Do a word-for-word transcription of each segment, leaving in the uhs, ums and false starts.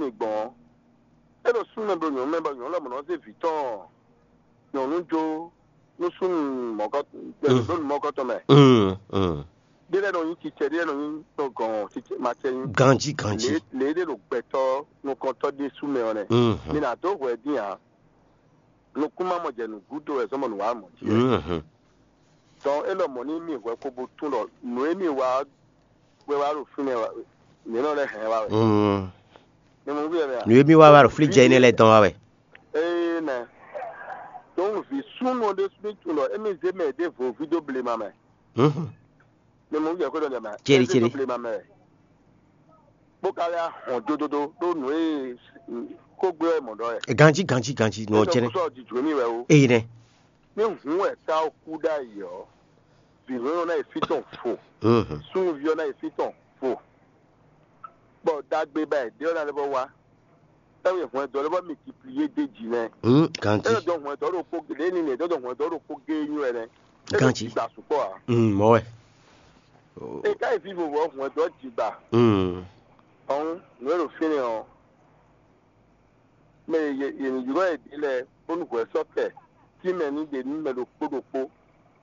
mi gbɔn ɔ́, é ɖo súnnu mɛ bló nyɔ̌nu mɛ bɔ nyɔ̌nu lɔmɔ̌ nɔ zé vǐ tɔn nyɔ̌nu jó nú súnnu mɔ̌kɔ gbɛdodónu mɔ̌kɔ tɔn mɛ. Mm, mm. Ɖé lɛ́ɛ nɔ nyí cicɛ, ɖé lɛ́ɛ nɔ nyí tɔgɔn cicɛ macɛ nyí. Ganjí, ganjí. Lě lě ɖé ɖo gbɛtɔ́ nukɔntɔ́ ɖésú mɛ ɔ́ nɛ́. Mm. Mi ná dó hwɛ dín ǎ. Nukún má mɔ jɛ nǔgúdo wɛ zɔ́n bɔ nǔ wá mɔ jí wɛ. Mm. Dɔn é lɔ mɔ̌ ní mì hwɛ ko bo tún ɖɔ nǔ e mì wa wɛ wá ɖo fínɛ́ wɛ, mǐ nɔ lɛ́ hɛn wá wɛ. Mm. Mi mɔ nú bí wɛ mɛ a? Nǔ e mì wa wá ɖo flí jɛ énɛ́ lɛ́ɛ dɔn wá wɛ. Ee nɛ. Dɔn vǐ súnnu ɖé ní tunwun ɖɔ émí zé mɛ ɖěvo ví dó blema mɛ. Mhm. Mi mɔ nú jɛ xwé ɖɔ jɛ mɛ. Céɖi, céɖi. Blema mɛ. Bó ka lɛ́ hɔn dódódó ɖó nǔ e kó gbé wɛ mɔ̌ ɖɔ wɛ. Ganjí, ganjí, ganjí, nɔ jɛnɛ. Sɔ jijǔ mì wɛ o. Eyi nɛ. Ní hǔn wɛ ká ó kú ɖ'ayǐ ɔ́, vǐ nyɔ̌nu ná yi fí tɔn vo. Mhm. Súnnuví ɔ́ ná yi fí tɔn vo. Bɔ ɖagbe ba è ɖe ɔ́ ná lɛ́ vɔ wá. Ewé hwɛndɔ lɛ́ vɔ multiplié d'é jí nɛ́. Mm, ganjí. É dɔn hwɛndɔ ɖokpó lě ní nɛ dɔn hwɛndɔ ɖokpó gé nyú wɛ nɛ́. É ɖo Ganjí. Jǐgba sukpɔ́ ǎ. Mm, mɔ̌ wɛ. É ka yi fí vovo ɔ́ hwɛndɔ jǐgba. Mm. Ɔ́n nǔ e ɖo fínɛ́ ɔ́, mɛ e yě yě ní ylɔ́ yě ɖe lɛ́ɛ bónú hwɛ sɔ́ kɛ tínmɛ ní ɖe nú mɛ ɖokpó ɖokpó,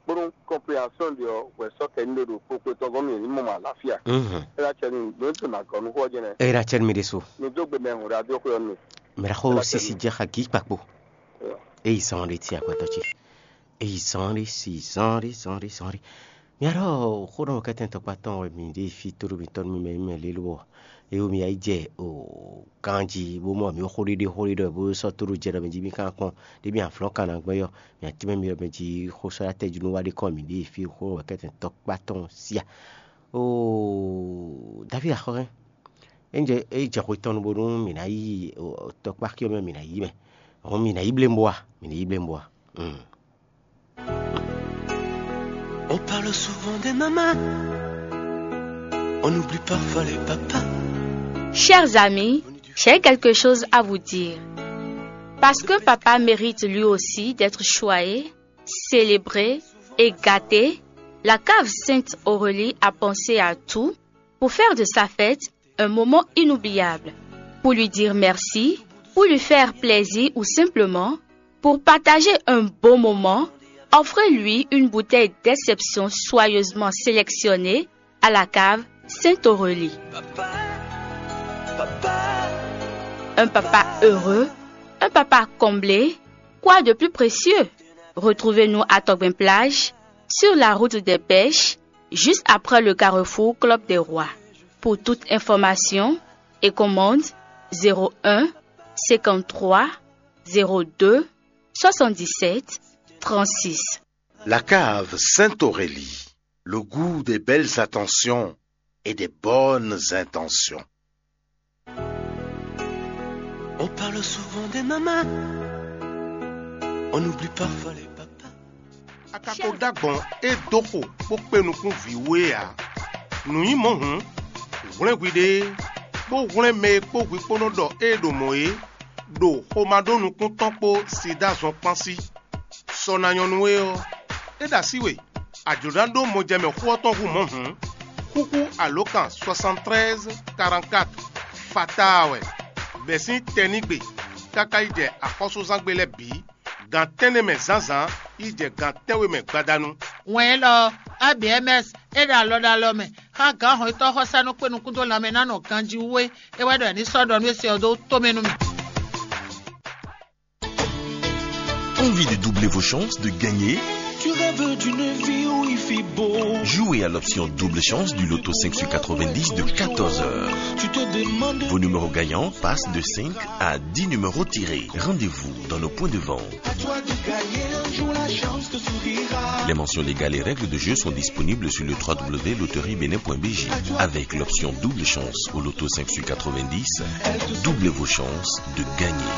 bónú kɔnpilasiɔn ɖe ɔ́ hwɛ sɔ́ kɛ ní ɖe ɖo kpokpotɔ́ gɔ́n mì ní mɔ mɔ aláfíà. Mhm. É ná cɛ nú nǔ e tún ná gɔ́ nú xó ɔ́ jɛnɛ. Eye ɖo acɛ nú mi ɖésú. Mi dó gbe mɛ hǔn ɖo adó xwé ɔ́ nú mi. Mɛ ɖaxó sisi jɛ xa gǐ kpakpo. Eyi zɔn ɖe ti agbadɔ ce. Eyi zɔn ɖe si zɔn ɖe zɔn ɖe zɔn ɖe. Mia ɖɔ xó ɖɔ kɛtɛn tɔkpa tɔn wɛ mi ɖe fi tóɖo mitɔn nú mi mɛ mi mɛ lé lobɔ. Eye mi yi jɛ o ganji bó mɔ mi xó ɖiɖi xó ɖiɖɔ bó sɔ́ tóɖo jɛ ɖɔ mi jí mi kan kpɔn ɖe mi aflɔ́n kan ná gbɛ́ yɔ. Mi atí mɛ mi ɖɔ mi jí xó sɔ́ ɖo atɛ́ jí nú wá ɖe kɔn mi ɖe fi xó ɖɔ kɛtɛn tɔkpa tɔn sia. O David axɔ́ hɛn. Enjɛ e jɛ xwe tɔn nu bónú mǐ ná yi tɔkpáxi ɔ́ mɛ mǐ ná yi mɛ. Hɔn mǐ ná yi blémbó a? Mǐ ní yi blémbó a? Mm. On parle souvent des mamans. On oublie parfois les papas. Chers amis, j'ai quelque chose à vous dire. Parce que papa mérite lui aussi d'être choyé, célébré et gâté, la cave Sainte Aurélie a pensé à tout pour faire de sa fête un moment inoubliable, pour lui dire merci, pour lui faire plaisir ou simplement pour partager un bon moment, offrez-lui une bouteille d'exception soigneusement sélectionnée à la cave Sainte Aurélie. Un papa heureux, un papa comblé, quoi de plus précieux? Retrouvez-nous à Togben Plage, sur la route des pêches, juste après le carrefour Club des Rois. Pour toute information et commande, zéro un cinquante-trois zéro deux soixante-dix-sept trente-six. La cave Sainte-Aurélie, le goût des belles attentions et des bonnes intentions. On parle souvent des mamans, on oublie parfois les papas. A ka ko dó agbɔ̌n e dó xo bó kpé nukún vǐ we ǎ. Nǔ nyí mɔ̌ hǔn, hwlɛ́n hwiɖée, bó hwlɛ́n mɛ e kpó hwi kpó nɔ ɖɔ ée ɖo mɔ̌ é, ɖo xomá ɖó nukún tɔn kpó sida zɔn kpán sí. Sɔ ná nyɔ́ nú we ɔ́, é ɖo así we, a jlǒ ná ɖó mɔjɛmɛ xó ɔ́ tɔn hú mɔ̌ hǔn, xúxú alǒkan soixante-treize quarante-quatre fataa wɛ, bɛ̌ sín tɛnígbe káká yi jɛ axɔ́súzángbe lɛ́ɛ bǐ, gan tɛ́nnɛ mɛ zǎnzǎn yi jɛ gan tɛ́nwe mɛ gbadanu. Wɛn élɔ́ ɔ́, A B M S é ɖo alɔ ɖo alɔ mɛ xá gǎn hɔnnyitɔ́ xɔsánú kpé nukún dó lanmɛ ná nɔ ganjí wú é. É wɛ ɖɔ è ní sɔ́ ɖɔ nú é se ɔ́ dó tomɛ nú mì. Envie de doubler vos chances de gagner? Tu rêves d'une vie où il fait beau. Jouez à l'option double chance du loto cinq sur quatre-vingt-dix de quatorze heures. Tu te demandes. Vos numéros gagnants passent de cinq à dix numéros tirés. Rendez-vous dans nos points de vente. À toi de gagner un jour, la chance te sourira. Les mentions légales et règles de jeu sont disponibles sur le trois w loterie bénin point b j. Avec l'option double chance au loto cinq sur quatre-vingt-dix, doublez vos chances de gagner.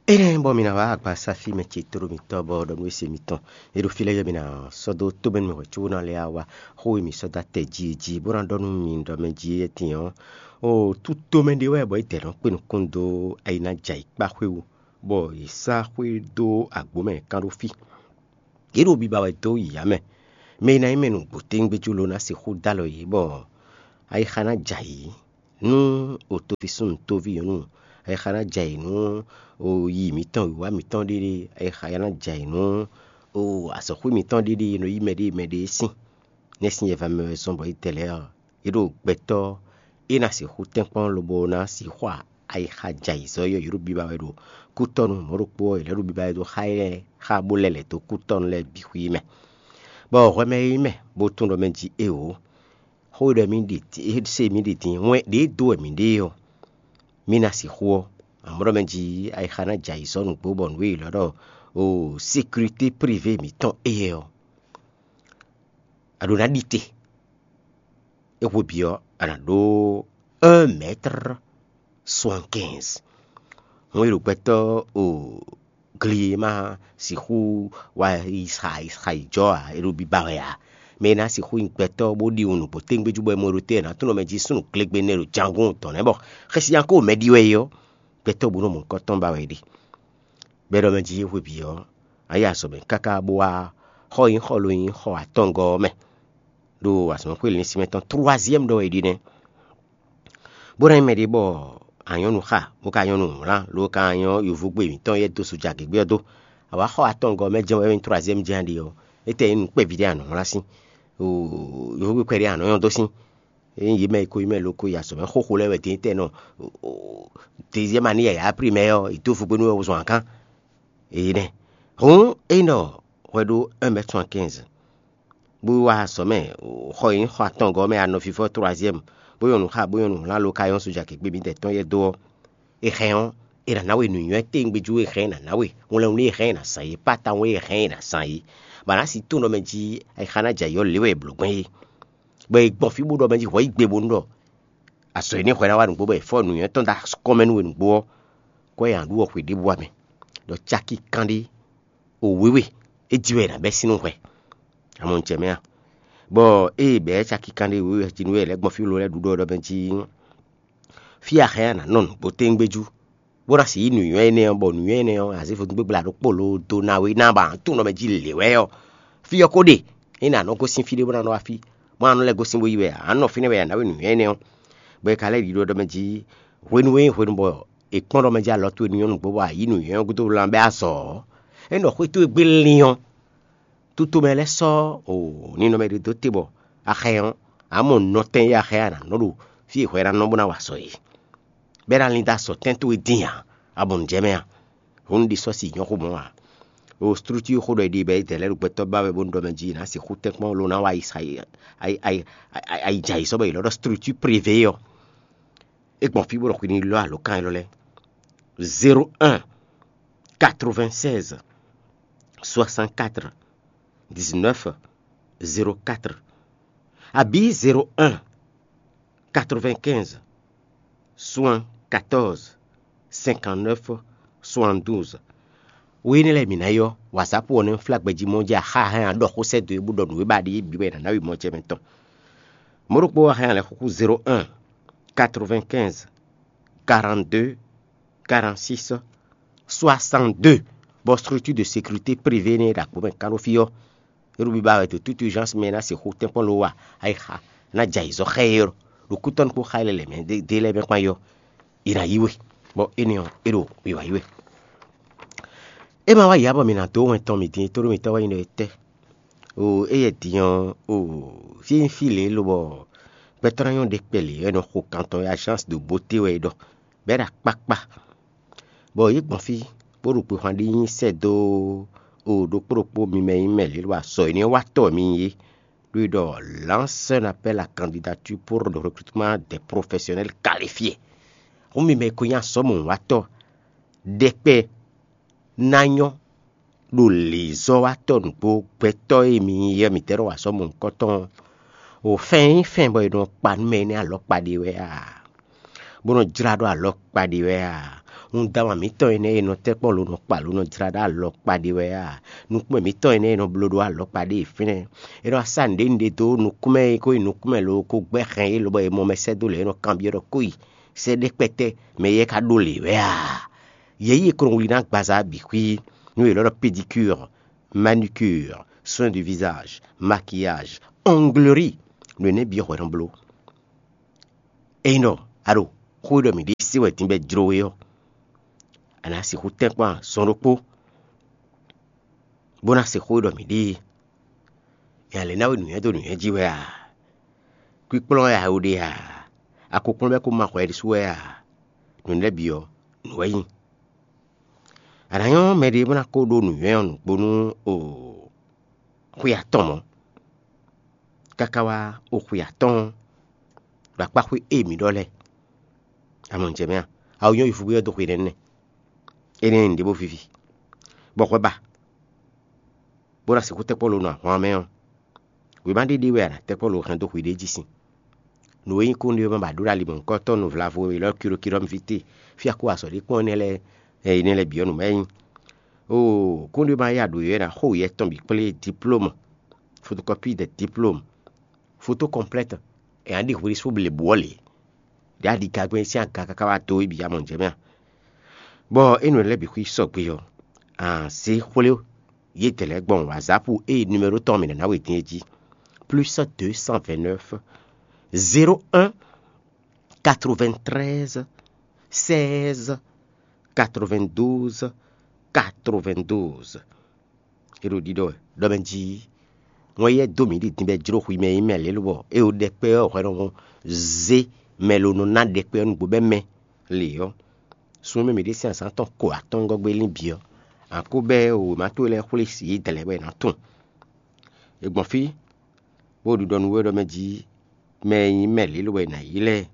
Énɛ́ bɔ mi ná wá agbasáfí mɛ ce tlóló mitɔn bɔ ɖɔ nú ése mitɔn. É ɖo fí lɛ́ɛ yɔ mi ná sɔ́ dó tómɛnú mɛ hwɛ̌ cóbó ná lɛ́ wá xó e mǐ sɔ́ dó atɛ jí é jí, bó ná ɖɔ nú mi ɖɔ mɛ jí é tín ɔ́, o tútómɛ ɖé wɛ bɔ é dɛ nɔ kpé nukún dó ayi ná jɛ ayǐ kpá xwé wú, bɔ è sá xwé dó agbǒ mɛ kán ɖó fí. Yě ɖo biba wɛ dó yǐyá mɛ. Mɛ e ná nyí mɛ nǔgbó téŋgbéjú ló ná sixú dó alɔ yě, bɔ ayixa ná jɛ ayǐ. Nú o toví súnnu, toví nyɔ̌nu, e xa ná jɛ ayǐ nú o yi mǐtɔn, wǐwá mǐtɔn ɖéɖé, e xa ná jɛ ayǐ nú o azɔ̌xwé mǐtɔn ɖéɖé e nɔ yí mɛɖée mɛɖée sín, nɛ́ sín yɛva mɛ wɛ zɔ́n bɔ é dɛ lɛ́ɛ ɔ́, é ɖo gbɛtɔ́ é ná sixú tɛ́nkpɔ́n lobo ná sixú ayixa jɛ ayǐ zɔ́ yɔ́ yǒɖo biba wɛ ɖo kútɔ́nú mɔ̌ ɖokpó ɔ́, è lɛ́ ɖo biba wɛ dó xá ɛ xá bó lɛ́ lɛ̌ dó kútɔ́nú lɛ́ɛ bǐ xwí mɛ. Bɔ hwɛ mɛ e nyí mɛ bó tunwun ɖɔ mɛ jí éeǒ, xó ɖɔ mì ɖi din, é se mì ɖi din, wɛn ɖě dó wɛ mǐ ɖe ɔ́, mì ná sixú ɔ́, amɔ̌ ɖɔ mɛ jí ayixa ná jɛ ayǐ sɔ́ nǔgbó bɔ nǔ e è lɔ̌ ɖɔ o sécurité privée mǐtɔn éyɛ́ ɔ́, a ɖǒ ná ɖi te. É hwe bǐ ɔ́, a nǎ ɖó un mètre soixante-quinze. Hɔn e ɖo gbɛtɔ́ o gli e ma sixú wá yi xa yi jɔ ǎ, é ɖo biba wɛ ǎ. Mɛ e ná sixú nyí gbɛtɔ́ bó ɖi wǔnú bó téŋgbéjú bɔ é mɔ ɖo te ná tunɔ mɛ jí súnnu glégbé nɛ́ ɖo jangún tɔn nɛ́ bɔ xɛsinyako mɛ ɖi wɛ é ɔ́, gbɛtɔ́ bó nɔ mɔ nukɔn tɔn ba wɛ é ɖe. Bɔ é ɖɔ mɛ jí hwe bǐ ɔ́, a yi azɔ̌ mɛ káká bó wá xɔ nyí xɔ lo nyí xɔ atɔngɔ́ ɔ́ mɛ, ɖo azɔ̌mɛxwé lǐnsimɛ tɔn troisième ɖɔ wɛ é ɖi nɛ́. Bó ná nyí mɛɖé bɔ a nyɔ́ nǔ xa, bó ka nyɔ́ nǔ wlán, ló ka nyɔ́ yovógbe mǐtɔn yɛ dó su jagěgbé ɔ́ dó. A wǎ xɔ atɔngɔ́ mɛ jɛ́n wɛ nyí troisième jɛ́n a ɖe ɔ́, étɛ́ nyí nǔ kpɛví ɖé a nɔ wlán sín? Yovógbe kpɛɖé a nɔ nyɔ́ dó sín? É nyí yě mɛ e ko nyí mɛ lo ko yi azɔ̌ mɛ xóxo lɛ́ɛ wɛ din tɛ́ nɔ deuxième année yǎyá primɛ́ ɔ́, è dó vugbe nú wɛ wozɔn akán. Èyí nɛ́. Hǔn é nɔ hwɛ ɖó un mètre soixante-quinze, bó wá azɔ̌ mɛ, xɔ e nyí xɔ atɔngɔ́ mɛ anɔfífɔ troisième, bó nyɔ́ nǔ xa, bó nyɔ́ nǔ wlán lo ka nyɔ́ soja kěkpé mǐdɛɛ tɔn yɛ dó ɔ́, è hɛn ɔ́, è nǎ ná we nǔnywɛ́ tɛ́ngbéjú e hɛn ɛ ná ná we, wlɛnwlí e hɛn ɛ ná zán é, pátáwɔn e hɛn ɛ ná zán é, bɔ a nǎ si tunwun ɖɔ mɛ jí ayixa ná jɛ ayǐ ɔ́ lě wɛ è blǒ gbɛn é. Bɔ è gbɔn fí bó ɖɔ mɛ jí hwɛ yí gbe bónú ɖɔ azɔ̌ énɛ́ hwɛ ná wá nǔgbó bɔ è fɔ́ nǔnywɛ́ tɔn dó akɔ́ mɛ nú we nǔgbó ɔ́, kwɛ́ nyi aɖǔ ɔ́ xwe ɖěbǔ wá mɛ, ɖɔ caki kanɖé o wěwe é jí wɛ è nǎ bɛ́ sín nú hwɛ. Amɔ̌ un jɛ mɛ a? Bɔ ée bɛ̌ caki kanɖé wěwe jí nú wɛ è lɛ́ gbɔn fí lo lɛ́ɛ ɖu ɖɔ ɖɔ mɛ jí fí a hɛn a nǎ nɔ nǔgbó téŋgbéjú, bó ná sixú yí nǔnywɛ́ énɛ́ ɔ́, bɔ nǔnywɛ́ énɛ́ ɔ́, a zě vodúngbégbla ɖokpó lo dó ná we ná ba tunwun ɖɔ mɛ jí lě wɛ ɔ́, fí ɔ́ ko ɖe. É ná nɔ gosín fí ɖé bó ná nɔ wá fí, bó ná nɔ lɛ́ gosín bó yi wɛ ǎ, nɔ fínɛ́ wɛ a nǎ we nǔnywɛ́ énɛ́ ɔ́. Bɔ é ka lɛ́ ɖiɖɔ ɖɔ mɛ jí hwenu e nyí hwenu bɔ è kpɔ́n ɖɔ mɛ jí alɔ towe ní nyɔ́ nǔgbó bɔ a yǐ nǔnywɛ́ ɔ́ gúdo wlán bɛ́ azɔ̌ ɔ́, é nɔ xwé towe gbé lín ɔ́, tutomɛ lɛ́ɛ sɔ́ o ninɔmɛ ɖé dó te bɔ a xɛ ɔ́, a mɔ nɔtɛn e a xɛ a nǎ nɔ ɖo fí e hwɛ ná nɔ bó ná wa azɔ̌ é. Bɔ é ná lín dó azɔ̌ tɛ́n towe dín ǎ, a mɔ nǔ jɛ mɛ a? Hǔn ɖi sɔ́ si nyɔ́ xó mɔ̌ ǎ. O structure xó ɖɔ è ɖi bɔ è dɛ lɛ́ ɖo gbɛtɔ́ ba wɛ bónú ɖɔ mɛ jí è nǎ sixú tɛ́nkpɔ́n lo ná wa yi sa yi ayi jɛ ayǐ sɔ́ bɔ è lɔ́ ɖɔ structure privé ɔ́. É gbɔn fí bó ɖɔ xwi ní lɔ́ alǒkan élɔ́ lɛ́ɛ: zéro un, quatre-vingt-seize, soixante-quatre, dix-neuf, zéro quatre, abǐ zéro un, quatre-vingt-quinze, soixante-quatorze, cinquante-neuf, soixante-douze. Wo énɛ́ lɛ́ɛ mǐ ná ylɔ́, wǎzápu ɔ́ nɛ́ flá gbɛjí mɔ jɛ axá hɛn aɖɔ xó sɛ́ dó e bó ɖɔ nǔ e ba ɖe yí bǐ wɛ è nǎ ná yi mɔ ce mɛ tɔn. Mɔ̌ ɖokpó wá hɛn alɛxúxú zéro un, quatre-vingt-quinze, quarante-deux, quarante-six, soixante-deux, bɔ structure de sécurité privée nɛ́ ɖo agbǒ mɛ kán ɖó fí ɔ́, é ɖo biba wɛ de toute urgence mɛ ná sixú tɛ́nkpɔ́n lo wa ayixa ná jɛ ayǐzɔ́ xá ɛ ɖo kútɔ́nú kpó xá ɛ lɛ́ɛ mɛ ɖé lɛ́ɛ mɛ kpán yɔ, è nǎ yí we, bɔ énɛ́ ɔ́, é ɖo wiwa yí we. É ma wá yǎ bɔ mǐ ná dó wɛn tɔn mǐ dín tóɖó mǐtɔn wɛ nyí ɖɔ é tɛ́? O éyɛ́ din ɔ́, o fí nyí fí lě lobɔ gbɛtɔ́ ná nyɔ́ ɖe kpɛ lě wɛ è nɔ xo kan tɔn e agence de beauté wɛ è ɖɔ, bɔ é ɖo akpákpá. Bɔ yě gbɔn fí, bó ɖo gběxwan ɖi nyi sɛ́ dó o ɖokpó ɖokpó mi mɛ nyí mɛ lě lo azɔ̌ énɛ́ wá tɔ mi nyí é, ɖó è ɖɔ lance un appel à candidature pour le recrutement des professionnels qualifiés. Hǔn mi mɛ e ko nyí azɔ̌mɔwatɔ́ ɖɛkpɛ ná nyɔ́ ɖo lǐzɔ́watɔ́ nǔgbó gbɛtɔ́ e mi nyí é, mǐtɛ́ nɔ wa azɔ̌ mɔ̌hunkɔtɔn ɔ́? O fɛn e nyí fɛn bɔ è nɔ kpa nú mɛ énɛ́ alɔkpa ɖe wɛ a? Bó nɔ jlá ɖó alɔkpa ɖe wɛ a? Nǔdáma mǐtɔn énɛ́ e nɔ tɛ́ kpɔ́n lo nɔ kpa lo nɔ jlá ɖó alɔkpa ɖe wɛ a? Nukúnmɛ mǐtɔn énɛ́ e nɔ bló ɖó alɔkpa ɖe fínɛ́, é nɔ wá sá nǔɖé nǔɖé dó nukúnmɛ e ko nyí nukúnmɛ lo ko gbɛ́ hɛn é lobɔ è mɔ mɛ sɛ́ dó lě é nɔ kanbyɔ́ ɖɔ kó yi sɛ́ ɖé kpɛtɛ́ mɛ éyɛ́ ka ɖó lě wɛ a? Yě yi e ko nɔ wlí ná agbaza bǐ xwí, nú è lɔ́ ɖɔ pédicure, manucure, soin du visage, maquillage, onglerie, nǔ énɛ́ bǐ hwɛ nɔ bló. Ényí ɖɔ A ɖo xó e ɖɔ mǐ ɖe se wɛ din bɔ é jló we ɔ́, a nǎ sixú tɛ́nkpɔ́n azɔn ɖokpó, bó ná se xó e ɖɔ mǐ ɖe é. Nya lě ná we nǔnywɛ́ dó nǔnywɛ́ jí wɛ a? Kwíkplɔ́n wɛ a ɖe a? A ko kplɔ́n bɔ é ko ma xɔ ɛ ɖésú wɛ a? Nǔ lɛ́ɛ bǐ ɔ́, nǔ wɛ nyí. A nǎ nyɔ́ mɛɖé bó ná ko ɖó nǔnywɛ́ ɔ́ nǔgbó nú o xwe atɔn mɔ̌, káká wá o xwe atɔn ɔ́, ɖo akpá xwé e mǐ ɖɔ lɛ́ɛ. A mɔ nǔ jɛ mɛ a? A wǔ nyɔ́ yi fúgbé ɔ́ dó xwe nɛ́ nɛ́. Énɛ́ nyí nǔɖé bó víví, bɔ hwɛ ba, bó ná sixú tɛ́ kpɔ́ lo nɔ ahwan mɛ ɔ́, wěma ɖé ɖé wɛ a nǎ tɛ́ kpɔ́ lo hɛn dó xwe ɖé jí sin. Nǔ e nyí kúnɖé ɔ́ ma ba ɖó ɖo ali mɔ̌hunkɔtɔn nǔvlávú e lɔ́ kilokilɔ́ fí te, fí a kó azɔ̌ ɖé kpɔ́n énɛ́ lɛ́ɛ, ɛ, énɛ́ lɛ́ɛ bǐ ɔ́ nǔ mɛ nyí. Oo, kúnɖé ɔ́ ma yá ɖǒ é ná xo yɛ tɔn bǐ kplé diplôme, photocopie de diplôme, photo complète, è nǎ ɖi hwesú blěbǔ ɔ́ lě. Ɖě a ɖi gagbɛ́n sín aga káká wá dó é bǐ a mɔ nǔ jɛ mɛ a? Bɔ énɛ́ lɛ́ɛ bǐ xwí sɔgbe ɔ́, a zě xwlé yědɛɛ lɛ́ɛ gbɔn wǎzápu e numéro tɔn mǐ ná ná we din é jí: plus deux cent vingt-neuf, zéro un, quatre-vingt-treize, seize, quatre-vingt-douze, quatre-vingt-douze. É ɖo ɖiɖɔ wɛ ɖɔ mɛ jí wɛn yɛ dó mǐ ɖi din bɔ é jló xwi mɛ nyí mɛ lě lobɔ é ɖo ɖɛkpɛ ɔ́ hwɛ nɔ zé mɛ lo nɔ ná ɖɛkpɛ ɔ́ nǔgbó bɔ é mɛ lě ɔ́. Sun e mɛ mǐ ɖe sín azǎn tɔn ko atɔ́ɔ́ngɔ́ gbe lín bǐ ɔ́, a ko bɛ́ wěma towe lɛ́ɛ xwlé si yědɛɛ lɛ́ɛ bɔ è nǎ tunwun. È gbɔn fí, bó ɖiɖɔ nú we ɖɔ mɛ jí mɛ e nyí mɛ lě lobɔ è nǎ yí lɛ́ɛ,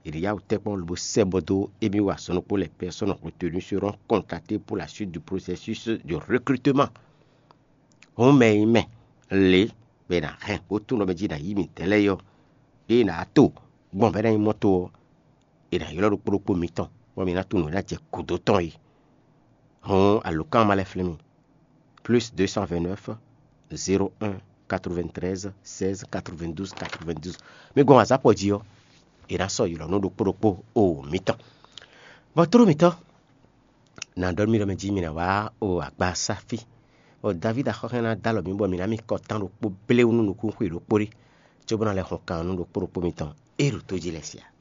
è ɖě yá wǔ tɛ́nkpɔ́n lobo sɛ́ bɔ dó émí wá azɔn ɖokpó lɛ́ɛ: personne retenue seront contactées pour la suite du processus de recrutement. Hǔn mɛ e nyí mɛ lě bɔ è nǎ hɛn bó tunwun ɖɔ mɛ jí è nǎ yí mǐtɛn lɛ́ɛ é ɔ́, ɖěe è nǎ to gbɔn bɔ é ná nyí mɔ́ to ɔ́, è nǎ ylɔ́ ɖokpó ɖokpó mitɔn, bɔ mi ná tunwun nǔ e ná jɛ gǔdo tɔn é. Hǔn alǒkan ɔ́ ma lɛ́ flín mi: plus deux cent vingt-neuf, zéro un, quatre-vingt-treize, seize, quatre-vingt-douze, quatre-vingt-douze. Mi gbɔn wǎzápɔ jí ɔ́, è nǎ sɔ́ ylɔ̌ nú ɖokpó ɖokpó o mitɔn. Bɔ tló mitɔn, nǎ ɖɔ nú mi ɖɔ mɛ jí mi ná wá o agbasáfí. Bɔ Davídi axɔ́ hɛn ná dó alɔ mǐ bɔ mǐ ná mì kɔ tán ɖokpó bléwún nú nukúnxwe ɖokpó ɖé, cóbó ná lɛ́ hɔn kan ɔ́ nú ɖokpó ɖokpó mitɔn e ɖo tó jí lɛ́ɛ sia.